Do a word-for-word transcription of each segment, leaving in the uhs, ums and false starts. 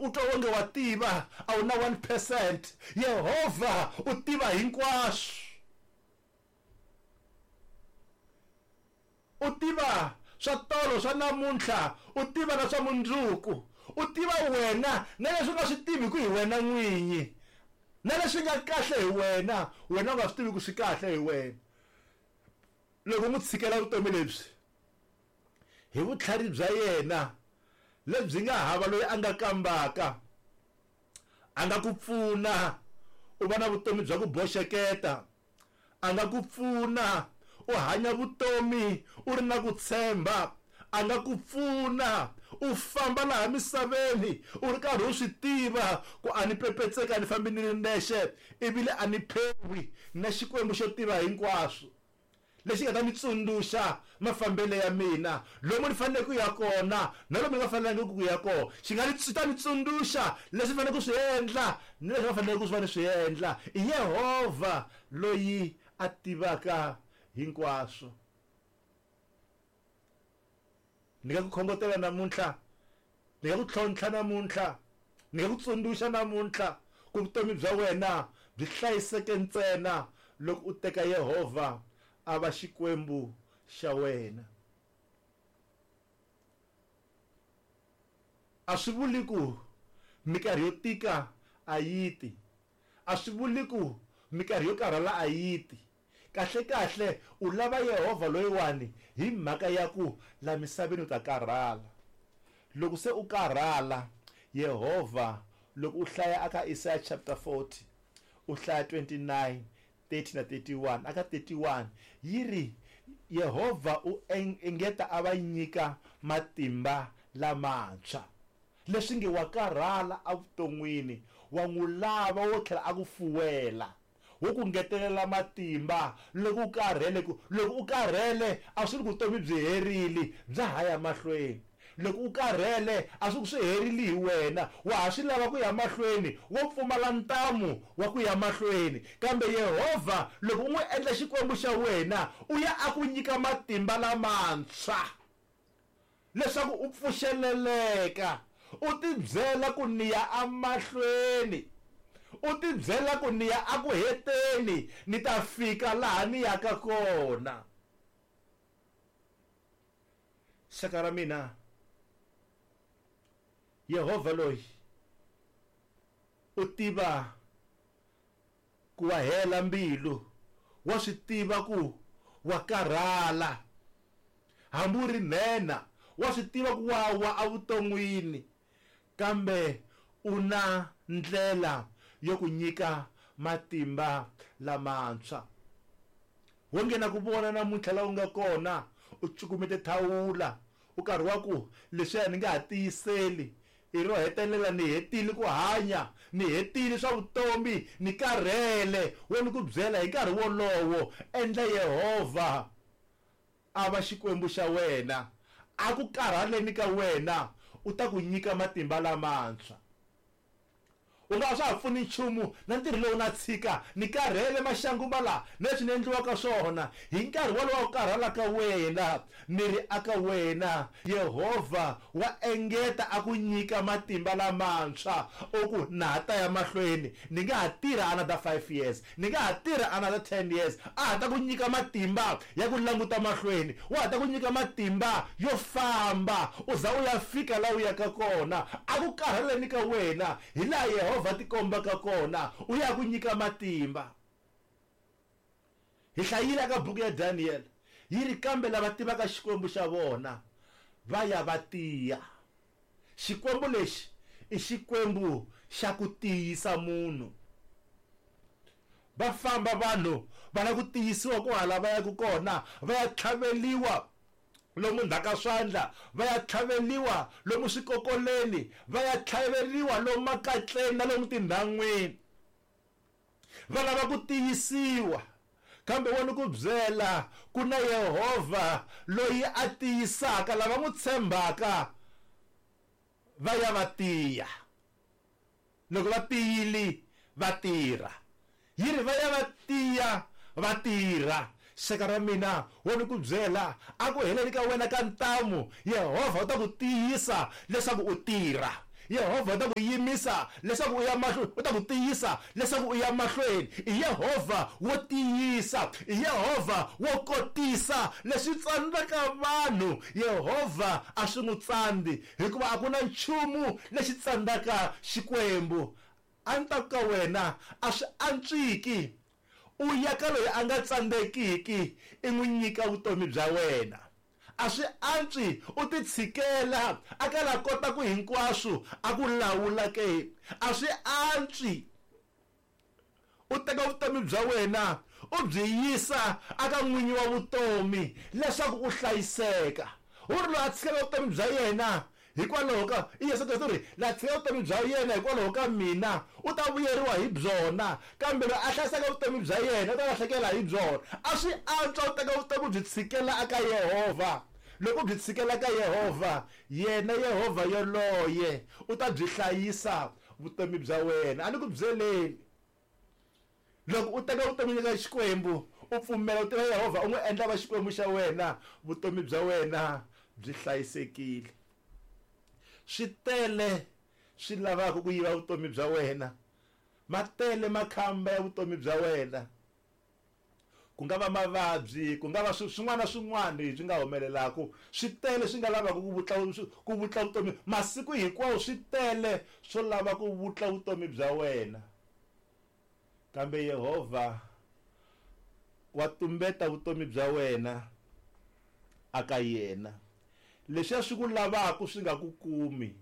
Loko u twa onge wa tiva, a wu na one percent. Yehovha u tiva hinkwaswo. U tiva swa tolo, swa namuntlha, u tiva na swa mundzuku. U tiva wena na leswi u nga swi tivi ku hi wena n'winyi, na leswi nga kahle hi wena, wena u nga swi tivi ku swi kahle hi wena. Loko u n'wi tshikela vutomi lebyi hi vutlhari bya yena lebyi nga hava loyi a nga kambaka, a nga ku pfuna u va na vutomi bya ku boxeketa, a nga ku pfuna u hanya vutomi u ri na ku tshemba, a nga ku pfuna u famba laha misaveni u ri karhi u swi tiva ku a ni pepetseka, a ni fambi ni ri nexe, ivile a ni phewi na Xikwembu xo tiva hinkwaswo lexi nga ta ni tsundzuxa mafambelo ya mina, lomu ni faneleke ku ya kona na lomu ni nga fanelangiki ku ya kona. Xi nga ni ta ni tsundzuxa leswi ni faneleke ku swi endla ni leswi nga faneleke ku swi va ni swi endla. I Yehovha loyi a tivaka hinkwaswo. Ni nga ku khongotela namuntlha, ni nga ku tlhontlha namuntlha, ni nga ku tsundzuxa namuntlha ku vutomi bya wena byi hlayiseke ntsena loko u teka Yehovha a va Xikwembu xa wena. A swi vuli ku minkarhi yo tika a yi ti, a swi vuli ku minkarhi yo karhala a yi ti. Kahle kahle u lava Yehovha loyiwani hi mhaka ya ku la misaveni u ta karhala. Loko se u karhala, Yehovha loko u hlaya aka Isaiah chapter forty, u hlaya twenty-nine, thirty na thirty-one, aka thirty-one yi ri Yehovha u engeta a va nyika matimba lamantshwa. Leswi nge wa karhala evuton'wini, wa n'wi lava wo tlhela a ku fuwela, wo ku ngetelela matimba loko u karhele. Ku loko u karhele a swi ri ku vutomi byi herile, bya ha ya mahlweni. Loko u karhele a swi ku swi herile hi wena, wa ha swi lava ku ya mahlweni, wo pfumala ntamu wa ku ya mahlweni. Kambe Yehovha loko u n'wi endla Xikwembu xa wena, u ya a ku nyika matimba lamantshwa leswaku u pfuxeleleka, u tibyela ku ni ya emahlweni, u tibyela ku ni ya aku heteni, ni ta fika laha ni yaka kona. Xaka ra mina, Yehovha loyi u tiva ku wa hela mbilu, wa swi tiva ku wa karhala, hambi u ri nhenha, wa swi tiva ku wa wa evuton'wini, kambe u na ndlela yo ku nyika matimba lamantshwa. Wo nghena ku vona namuntlha laha u nga kona, u cukumete thawula, u karhi wa ku leswiya ni nga ha tiyiseli, i ro hetelela ni hetile ku hanya, ni hetile swa vutomi, ni karhele. Wo ni ku byela hi nkarhi wolowo, endla Yehovha a va Xikwembu xa wena, a ku karhaleni ka wena u ta ku nyika matimba lamantshwa. U nga swa ha pfuni nchumu na ntirho lowu na tshika, ni karhele maxangu ma la na leswi ni endliwaka swona. Hi nkarhi wolowo ku karhala ka wena, ni ri aka wena, Yehovha wa engeta a ku nyika matimba lamantshwa. U ku na ha ta ya mahlweni, ni nga ha tirha another five years, ni nga ha tirha another ten years. A ha ta ku nyika matimba ya ku languta mahlweni, wa ha ta ku nyika matimba yo famba u za u ya fika laha u yaka kona. A ku karhaleni ka wena hi laha Yehovha tikombaka kona, u ya ku nyika matimba. Hi hlayile ka buku ya Daniel, yi ri kambe lava tivaka Xikwembu xa vona va ya va tiya. Xikwembu lexi i Xikwembu xa ku tiyisa munhu. Va famba vanhu va lava ku tiyisiwa ku hala va yaka kona, va ya tlhaveliwa lomu ndzhaka swandla, va ya tlhaveliwa lomu swikokoleni, va ya tlhaveliwa lomu makatleni na lomu tindhan'wini. Va lava ku tiyisiwa, kambe wa ni ku byela ku na Yehovha loyi a tiyisaka lava n'wi tshembaka, va ya va tiya. Loko va tiyile va tirha, yi ri va ya va tiya va tirha. Xaka ra mina, wo ni ku byela a ku heleni ka wena ka ntamu, Yehovha u ta ku tiyisa leswaku u tirha. Yehovha u ta ku yimisa leswaku u ya mahlweni, u ta ku tiyisa leswaku u ya mahlweni. I Yehovha wo tiyisa, i Yehovha wo kotisa leswi tsandzaka vanhu. Yehovha a swi n'wi tsandzi, hikuva a ku na nchumu lexi tsandzaka Xikwembu. A ni ta ku ka wena a swi antswiki u ya ka loyi a nga tsandzekiki i n'wi nyika vutomi bya wena. A swi antswi u ti tshikela a ka la kota ku hinkwaswo a ku lawula ke. A swi antswi u teka vutomi bya wena u byi yisa aka n'winyi wa vutomi leswaku u hlayiseka. U ri loyi a tshikela vutomi bya yena hikwalaho ka i Yesu Kreste, u ri la tshika vutomi bya yena hikwalaho ka mina u ta vuyeriwa hi byona, kambe loyi a hlayisaka vutomi bya yena u ta lahlekela hi byona. A swi antswa u teka vutomi byi tshikela aka Yehovha. Loko byi tshikela ka Yehovha, yena Yehovha yoloye u ta byi hlayisa vutomi bya wena. A ni ku byeleni, loko u teka vutomi ka Xikwembu, u pfumela u tiva Yehovha, u n'wi endla va Xikwembu xa wena, vutomi bya wena byi hlayisekile. Swi tele swi lavaka ku yiva vutomi bya wena, ma tele makhamba ya vutomi bya wena. Ku nga va mavabyi, ku nga va swin'wana na swin'wana swi nga humelelaka, swi tele swi nga lavaka ku vutla ku vutla vutomi masiku hinkwawo, swi tele swo lava ku vutla vutomi bya wena. Kambe Yehovha wa tumbeta vutomi bya wena aka yena. Leswiya swi ku lavaka swi nga ku kumi,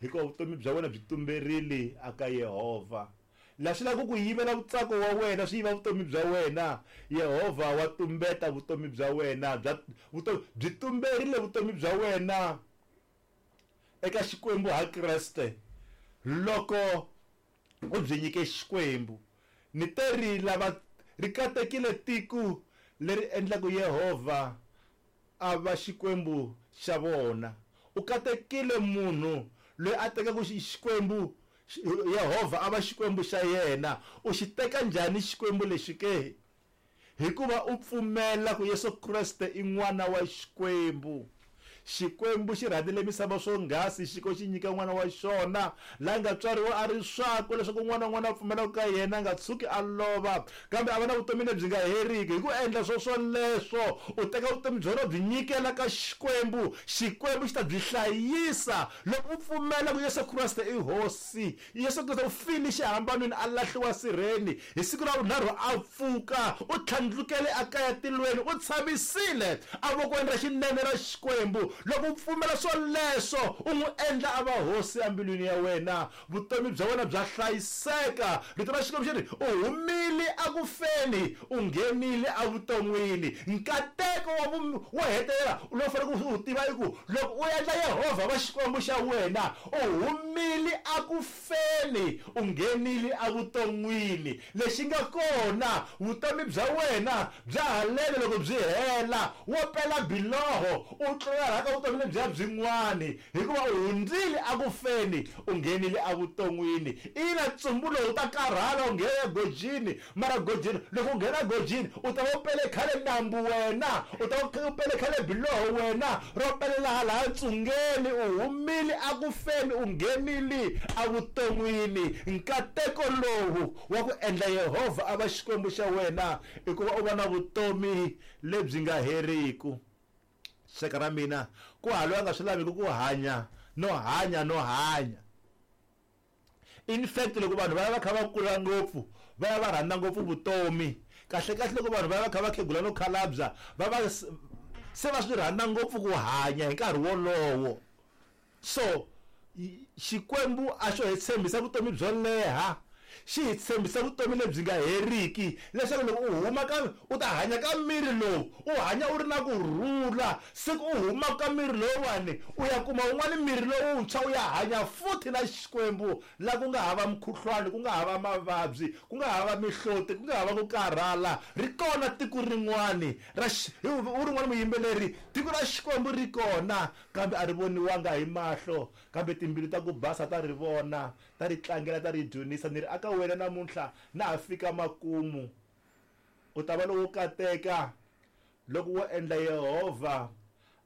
hikuva vutomi bya wena byi tumberile aka Yehovha. La swi lava ku yivela vutsako wa wena, swi yiva vutomi bya wena, Yehovha wa tumbeta vutomi bya wena, bya vutomi byi tumberile vutomi bya wena eka Xikwembu ha Kreste. Loko u byi nyike Xikwembu, ni te ri lava ri katekile tiko leri endlaka Yehovha a va Xikwembu xa vona. U katekile munhu loyi a tekaka Xikwembu Yehovha a va Xikwembu xa yena. U xi teka njhani Xikwembu lexi ke? Hikuva u pfumela ku Yesu Kreste i n'wana wa Xikwembu. Xikwembu xi rhandzile misava swonghasi xi ko xi nyika n'wana wa xona la nga tswariwa a ri swakwe, leswaku n'wana na n'wana a pfumelaka ka yena a nga tshuki a lova, kambe a va na vutomi lebyi nga heriki. Hi ku endla swo swoleswo u teka vutomi bya wena u byi nyikela ka Xikwembu, Xikwembu xi ta byi hlayisa. Loko u pfumela ku Yesu Kreste i Hosi, Yesu Kreste u file xihambanweni a lahliwa sirheni, hi siku ra vunharhu a pfuka, u tlhandlukele a kaya tilweni, u tshamisile evokweni ra xinene ra Xikwembu. Loko u pfumela swoleswo, u n'wi endla a va hosi embilwini ya wena, vutomi bya wena bya hlayiseka. Rito ra Xikwembu xi ri u humile akufeni u nghenile evuton'wini. Nkateko wa wo hetelela lowu faneleke u wu tiva i ku loko u endla Yehovha va Xikwembu xa wena, u humile akufeni u nghenile evuton'wini. Lexi nga kona, vutomi bya wena bya halele loko byi hela, wo pela biloho u tlula ka vutomi lebyiya byin'wani, hikuva u hundzile akufeni u nghenile evuton'wini. Ina, ntsumbu lowu ta karhala u nghena egojini, mara gojini loko u nghena gojini u ta va u pele khale nambu wena, u ta va u pele khale biloho wena ro pelela hala ntsungeni. U humile akufeni u nghenile evuton'wini. Nkateko lowu wa ku endla Yehovha a va Xikwembu xa wena i ku va u va na vutomi lebyi nga heriki. Xaka ra mina, ku hava loyi a nga swi laviki ku hanya no hanya no hanya. In fact, loko vanhu va ya va kha va kula ngopfu, va ya va rhandza ngopfu vutomi. Kahle kahle loko vanhu va ya va kha va khegula no khalabya, va va se va swi rhandza ngopfu ku hanya hi nkarhi wolowo. So Xikwembu a xo hi tshembisa vutomi byo leha, xi hi tshembisa vutomi lebyi nga heriki, leswaku loko u huma ka u ta hanya ka miri lowu, u hanya u ri na ku rhula. Siku u huma ka miri lowuwani, u ya kuma wun'wani miri lowuntshwa, u ya hanya futhi na Xikwembu, la ku nga hava mukhuhlwani, ku nga hava mavabyi, ku nga hava mihloti, ku nga hava ku karhala. Ri kona tiko rin'wani ra u rin'wana muyimbeleri, tiko ra Xikwembu ri kona, kambe a ri voniwanga hi mahlo, kambe timbilu ta ku basa ta ri vona, ta ri tlangela, ta ri dyondzisa. Ni ri aka wena namuntlha na ha fika makumu, u ta va lowo kateka loko wo endla Yehovha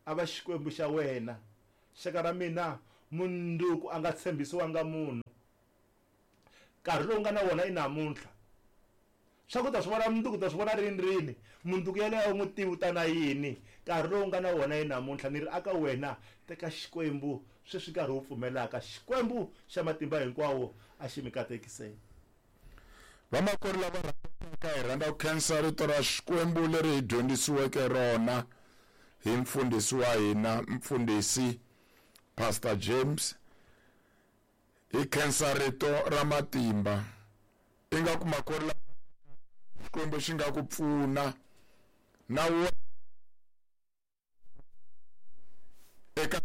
a va Xikwembu xa wena. Xaka ra mina, Munduku a nga tshembisiwanga munhu. Nkarhi lowu nga na wona i namuntlha. Swa ku ta swi vona munduku ta swi vona rini rini. Munduku yeleyo a wu n'wi tivi u ta na yini. Nkarhi lowu nga na wona i namuntlha. Ni ri aka wena teka Xikwembu sweswi nkarhi wu pfumelaka. Xikwembu xa matimba hinkwawo a xi mi katekiseni. Vamakwerhu lava rhandzaka, hi rhandza ku khensa rito ra Xikwembu leri hi dyondzisiweke rona hi mfundhisi wa hina, mfundhisi Pastor James. Hi khensa rito ra matimba. Ingaku makwerhu lava Xikwembu xi nga ku pfuna na wena eka